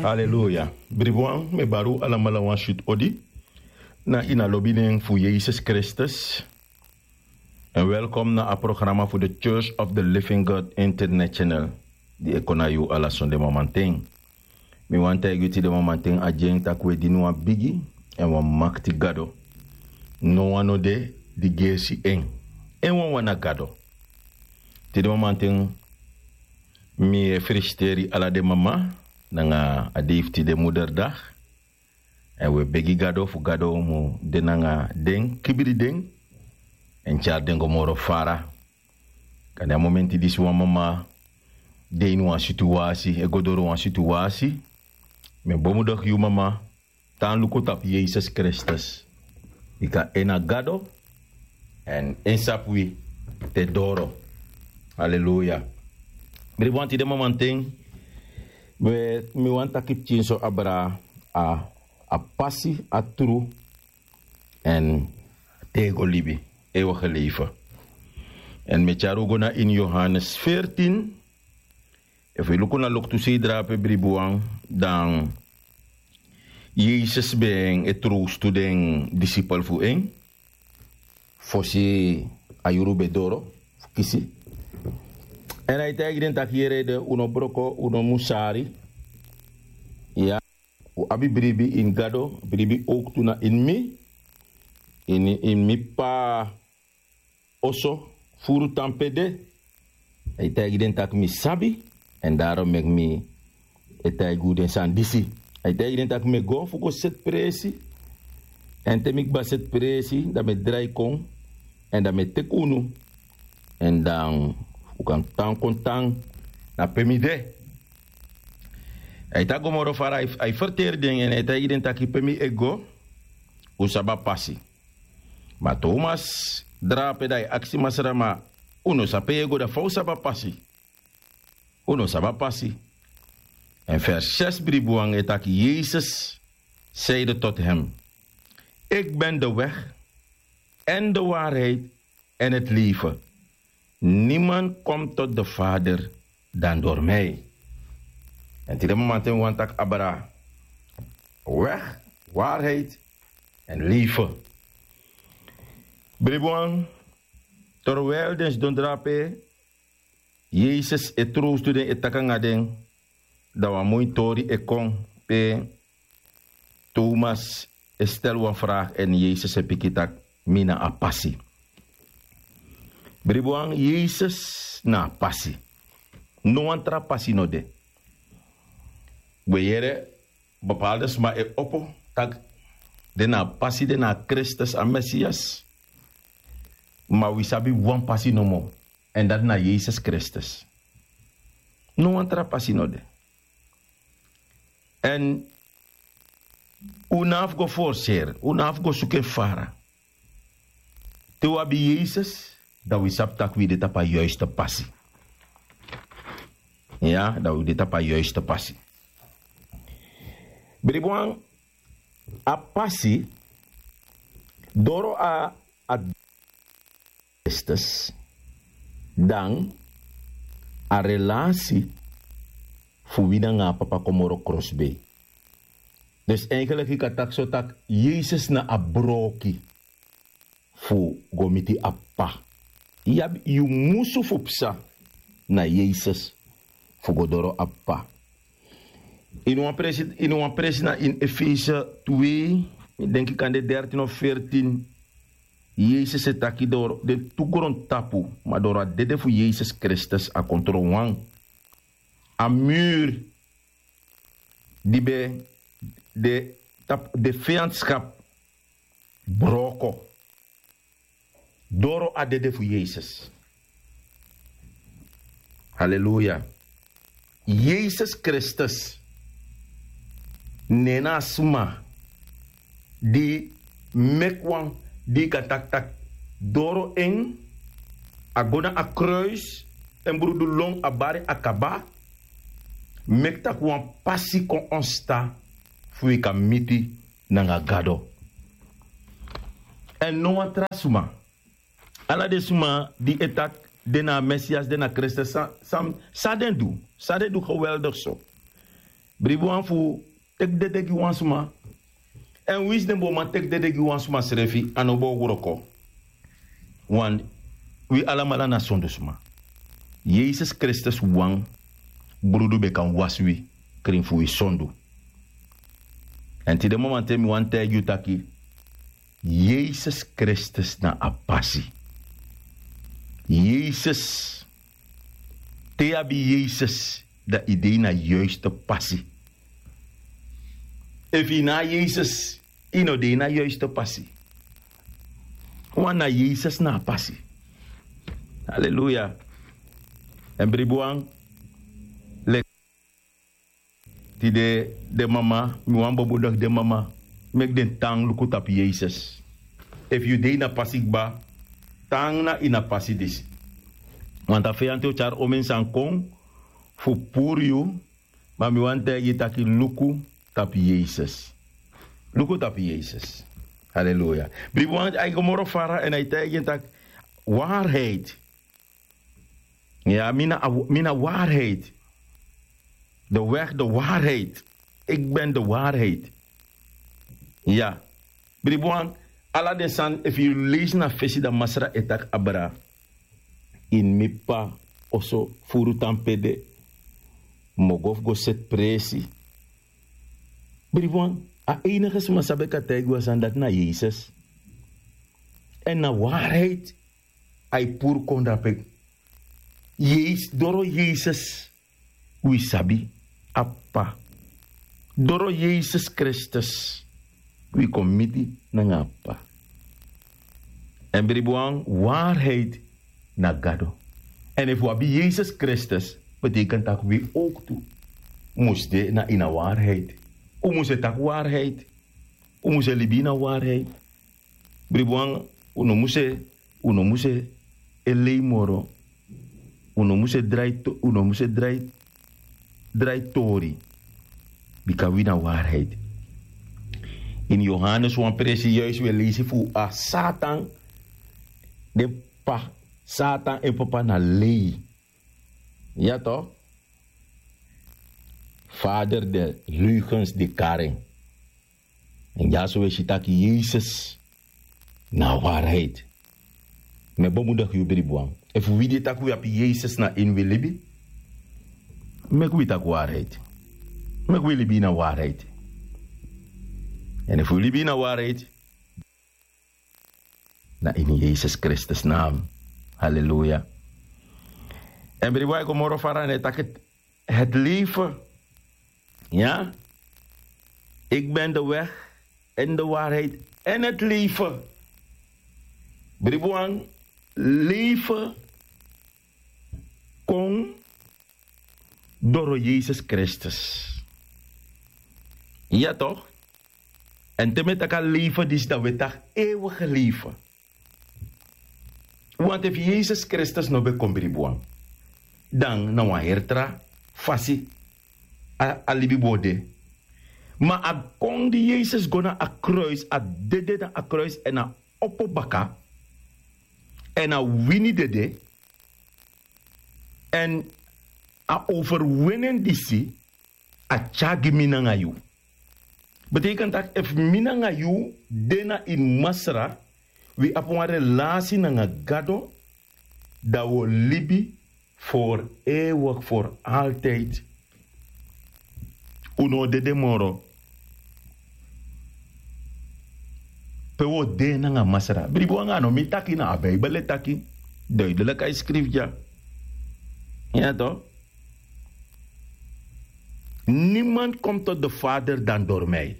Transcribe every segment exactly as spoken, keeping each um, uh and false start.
Aleluya. Bribuan, mi e bari un alamala wan switi odi na ini a lobi nen fu Yesus Kristus. Èn welkom na a programa fu de Church of the Living God International, di e kon na yu ala sonde mamanten. Mi wani taigi yu tide mamanten a gi en tak' un e dini wan bigi èn wan makti Gado. Nowan no de di gersi en. En wawan na Gado. Tide mamanten mi e felisiteri ala den mama nanga a dei fu tide, Moederdag. Èn un e begi Gado fu Gado mu de nanga den, kibri den, èn tyari den go moro fara. Kande a momenti disi wan mama de ini wan situwasi, e go doro wan situwasi, mi e bemodigi yu mama, tan luku tapu Yesus Kristus. Bika en na Gado, èn en sabi wi te doro. Aleluya. Bribuan, tide mamanten, we, mi wani taki pikinso abra a, a pasi, a tru, èn tego libi, eeuwige leven. Èn mi e tyari un go na ini Yohanes veertien. Efu yu luku na loktu sei drape, bribuan, dan Yesus ben e trowstu den disipel fu en fosi a yuru ben doro fu kisi. Èn a e taigi den taki: Yere, un no broko, un no musari. Ya, un abi bribi ini Gado, bribi owktu na ini mi. Ini, ini mi P'pa oso furu tan pe de. A e taigi den tak' mi sabi, èn daro meki mi e taigi un den sani disi. A e taigi den tak' mi e go fu go seti presi. Èn te mi kba seti presi, dan mi e drai kon, èn dan mi e teki unu, èn dan un kan tan kon tan na pe mi de. A e taki go moro fara, a e, a e ferteri den, èn a e taigi den taki pe mi e go, un sabi a pasi. Ma Tomas drape, dan a e aksi Masra: Ma un no sabi pe yu e go, dan fa un sabi a pasi? Un no sabi a pasi. Èn vers zes, bribuan, e taki: Yesus zeide tot hem: Ik ben de weg en de waarheid en het leven. Niemand komt tot de Vader dan door mij. Èn tide mamanten mi wani taki abra weg, waarheid èn leven. Bribuan, terwijl den sidon drape, Yesus e trowstu den, e taki nanga den, dan wan moi tori e kon pe Tomas e stel wan vraag èn Yesus e piki tak' mi na a pasi. Bribuan, Yesus na a pasi. No wan tra pasi no de. We yere bepaalde sma e opo tak' den na a pasi, den na a Kristus, a Mesias. Ma wi sabi wan pasi nomo, èn dati na Yesus Kristus. No wan tra pasi no de. Èn un no abi fu go forseri, un no abi fu go suku en fara. Te un abi Yesus, dan wi sabi tak' wi de tapu a yuiste pasi. Ya, dan wi de tapu a yuiste pasi. Bribuan, a pasi, doro a, a Kristus, dan a relasi fu wi nanga a Papa kon moro krosbei. Dus eigenlijk yu kan taki so tak' Yesus na a broki fu go miti a P'pa. Yu abi, yu musu fu psa na Yesus fu go doro a P'pa. Ini wan presi, ini wan presi na ini Efese twee, mi denki kande dertien of veertien, Yesus e taki doro den tu grontapu, ma doro a dede fu Yesus Kristus a kon tron wan. A muur di ben de tapu de vijandschap broko doro a dede fu Yesus. Haleluya. Yesus Kristus na en na a sma di meki wan, di yu kan taki tak' doro en a go na a kruis, en brudu lon, a bari, a kaba, meki tak' wan pasi kon ontstaan fu wi kan miti nanga Gado. Èn no wan tra sma. Ala den sma di e taki den na a Mesias, den na Kristus, san, san, san den du? San den du geweldig so? Bribi wan fu teki dede gi wan sma. Èn winsi den bo man teki dede gi wan sma srefi a no bo wroko. Wan wi alamala na sondusma. Yesus kristus wan brudu ben kan wasi wi krin fu wi sondu. Èn tide momanten mi wani taigi yu taki yesus kristus na a pasi. Yesus te yu abi yesus dan yu de ini a yuiste pasi. Efu yu na yesus yu no de ini a yuiste pasi. Wan na yesus na a pasi. Aleluya. Èn bribi wan leki tide den mama mi wan bobodok den mama meki den tan luku tapu yesus. Efu yu de ini a pasi kba tan na ini a pasi disi. Want a feyanti o tyari omen sani kon fu puru yu. Ma mi wani taigi yu taki luku tapu yesus. Luku tapu yesus. Aleluya. Bribi wan a e go moro fara èn a e taigi en taki waarheid. Ya mi na waarheid. De weg de waarheid. Ik ben de waarheid. Ya. Bribi wan ala den sani efu yu leisi na fesi dan masra e taki abra ini mi p'pa oso furu tan pe de. Mi o go fu go seti presi. Bribi wan a einige sma sabi e kan taigi wan sani dati na yesus. Èn na waarheid a e puru kon dape. Doro yesus wi sabi a p'pa. Doro yesus kristus wi kon miti nanga a p'pa. Èn bribi wan waarheid na gado. Èn efu wi abi yesus kristus betekent tak' wi owktu mus de na ini a waarheid. Un mus e taki waarheid. Un mus e libi ini a waarheid. Bribi wan un no mus e un no mus e lei moro. Un no mus e drai tori. Bika wi na waarheid. Ini yohanes wan presi yuis wi e leisi fu a satan. Den p'pa satan en p'pa na lei. Ya to. Fader de leugens de karen. En dyaso wi e si taki yesus na a waarheid. Mi e bemudigi yu bribi wan efu wi di e taki wi abi yesus na ini wi libi. Meki wi taki waarheid. Meki wi libi ini a waarheid. Èn efu wi libi ini a waarheid na ini yesus kristus nam. Haleluya. Èn bribi wan e go moro fara èn e taki het leven. Ya. Ik ben de weg en de waarheid en het leven. Bribi wan leven kon doro yesus kristus. Ya to. Èn te mi e taki a leven disi dan wi e taki ewige leven. Want efu yesus kristus no ben kon bribi wan dan na wan heri tra fasi a libi bo de. Ma a kon di yesus go na a kruis a dede na a kruis èn a opo baka èn a wini dede èn a overwinen disi a tyari gi mi nanga yu. Betekent tak' efu mi nanga yu de na ini masra wi abi wan relasi nanga gado dan wi o libi for ewig for altijdi. Un no o dede moro. Pe wi o de nanga masra bribi wan a no mi taki na a bibel e taki duidelik a e skrifi dya. Ya to. Niemand komt tot de vader dan door mij.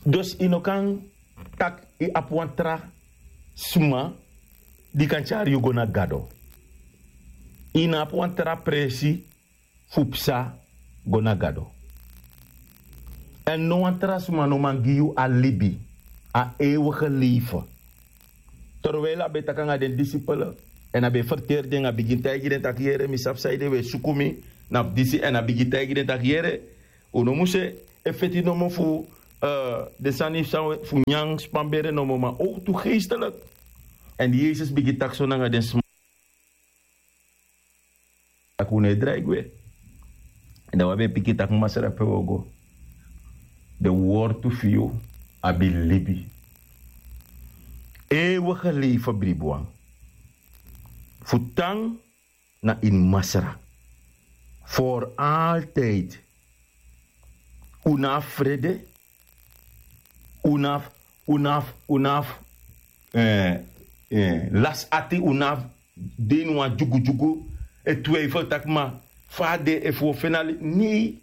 Dus yu no kan tak' yu abi wan tra sma di kan tyari yu go na gado. Yu no abi wan tra presi fu psa go na gado. Èn no wan tra sma no man gi yu a libi a ewige leife. Terwijli a ben taki nanga den disipel èn a ben ferteri den a bigin taigi den tak' yere mi sabi sanede un e suku mi na fu disi èn a bigin taigi den tak' yere un no mus e feti nomo fu den sani fu nyan span bere nomo ma owtu geestelik. Èn di yesus bigin taki so nanga den sma Taki un no e drai gwe. Dan wi abi en pikin taki masra pe wi o go. Den wortu fu yu abi libi. Eeuwige leven bribi wan. Fu tan na ini masra. Voor altijd. Un no abi frede. Un no abi un no abi un no abi lasi ati. Un no abi de ini wan dyugudyugu e twijfel taki ma fa a de efu wi o feni a libi nei.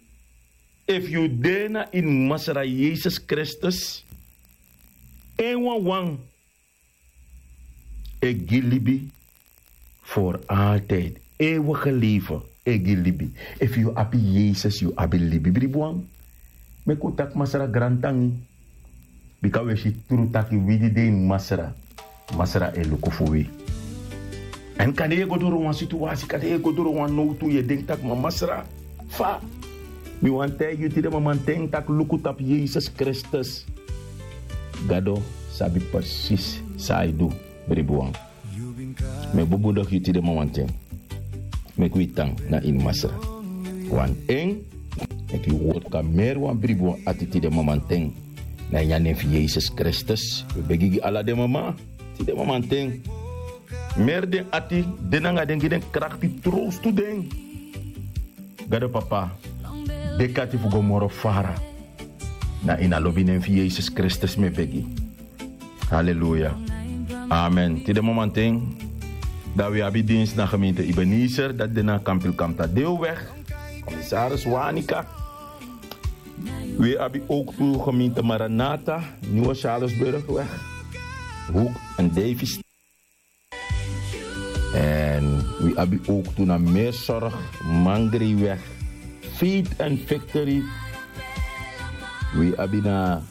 Efu yu de na ini masra yesus kristus en wawan e gi libi. For altid eeuwige leven e gi libi. Efu yu abi yesus yu abi libi bribi wan. Meki un taki masra grantangi. Bika un e si tru taki wi di de ini masra masra e luku fu wi. Èn kande yu e go doro wan situasi kande yu e go doro wan nowtu yu e denki taki ma masra fa. Mi wani taigi yu tide mamanten taki luku tapu yesus kristus. Gado sabi presis san a e du. Bribi wan. Mi e bubudok yu tide mamanten. Meki wi tan na ini masra. Wan en meki yu wortu kan meri wan bribi wan ati tide mamanten. Na ini a nen fu yesus kristus wi begi gi ala den mama tide mamanten. Meri den ati de nanga den gi den krakti trowstu den. Gado papa deki ati fu go moro fara. Na ini a lobi nen fu yesus kristus mi e begi. Haleluya. Amen tide mamanten. Dan wi abi dinsi na gemeente ebenezer dati de na kampilkamta deelweg. Komisaris wanika. Wi abi ook tu gemeente maranata, nieuwe charlesburgweg, hoek en davis. En wi abi ook tu na meerzorg, mangriweg, feet en victory. Wi abi na